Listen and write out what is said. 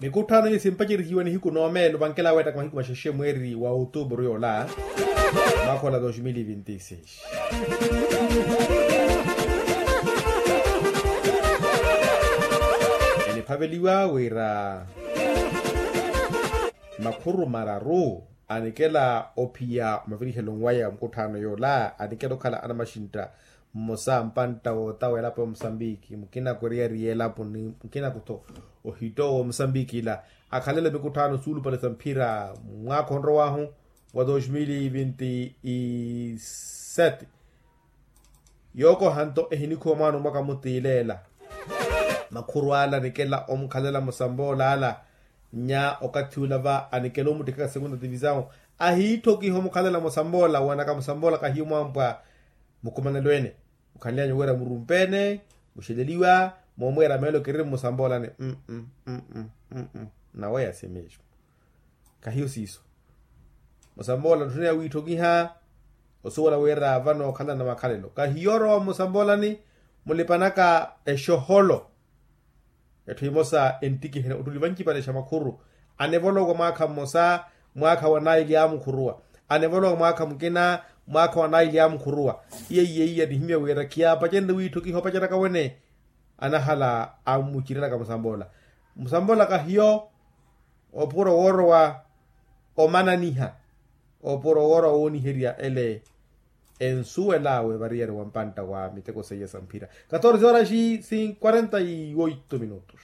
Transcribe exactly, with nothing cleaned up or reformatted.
Mikutthaano iyo simpacerihiwa nihiku noomeelo vankela weettaka mahiku maxexe mweeri wa outubru yoola, mwaakha ola dos mil e vinti seis. Eniphaveliwa wira makhuru mararu anikela ophiya omavirihelo nwaya mukutthaano yoola anikela okhala anamaxintta. Mmosa mpantta woota w'elapo ya musambiki mukina kweriyariya elapo ni mukina kutho ohitto w'omusambiki ila akhalele mikutthaano suulupale sa mphira mwaakha onrow'ahu wa dos mil e vinti sete. Yookoha nto ehinikhuwa mwaana omwaka mutiileela. Makhuru ala anikela omukhalela musamboola ala nya okathi ula va anikela omuttikhaka segunda tivisawu ahiitthokiha omukhalela musamboola wanaka musamboola kahiyo mwampwa. Mukhumanelo ene mukhanly'anyu wira murumpeene muxeleliwa moomweera meelo kiriri mmusamboolani. Naweya si mesmo. Kahiyo siiso musamboola ntthuniya wiitthokiha osuwela wira vano okhalana makhalelo kahiyo orowa mmusamboolani. Mulipanaka exoholo etthu emosa enttikihene ottuli vancipale xa makhuru. Anevolowa mwaakha mmosa mwaakha wa naili amukhuruwa. Anevolowa mwaakha mukina mwaakha wa naili amukhuruwa. Iyeiya iya nihimya wira khiyaapacererye wiitthokiha opaceraka wene. Anahala amuciranaka musamboola musamboola kahiyo opuro woorowa omananiha opuro woorowa wooniherya ele. Ensuwel'awe variyari wa mpantta wa miteko seiya sa mphira. Catorze horas e quarenta e oito minutos.